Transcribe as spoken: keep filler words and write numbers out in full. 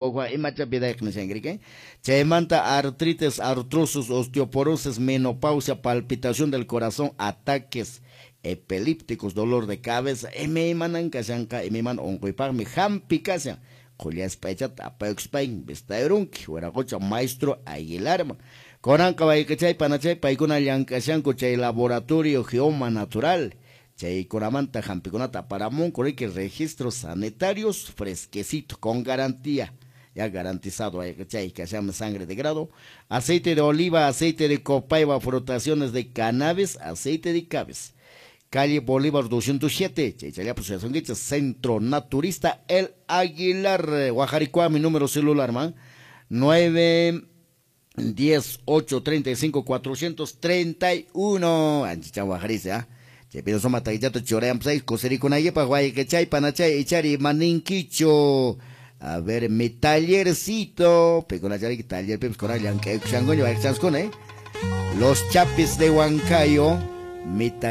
Imacha vidayqa nishankriki. Chaymanta artritis, artrosis, osteoporosis, menopausia, palpitación del corazón, ataques epilépticos, dolor de cabeza, imaymanan kashanqa, imaymana unquypaqmi hampi kashan. Qullaspa aychata apaykuspay vistayurunki, wiraqocha maestro Aguilarman. Kunanqa wayqichay panachay paykuna llank'ashanku chay laboratorio Geoma Natural. Chaykunamanta hampikunata aparamunku riki registros sanitarios fresquecito con garantía. Ya garantizado wayqichay kashanmi sangre de grado, aceite de oliva, aceite de copaiba, frotaciones de cannabis, aceite de cabeza. Calle Bolívar doscientos siete, Chaychallapa Suyasonguicha, Centro Naturista El Aguilar, Guajaricua, mi número celular, man, nueve diez ocho treinta y cinco cuatrocientos treinta y uno. Anchicha Guajarice, ¿ah? Chaypino soma taquichato chorean seis, cosericunayepa, guayquechay, panachay, ichari, maninquicho. A ver, mi tallercito, pecunachari, taller, pepes, coral, yanque, xangoño, ¿eh? Los Chapis de Huancayo, mi taller.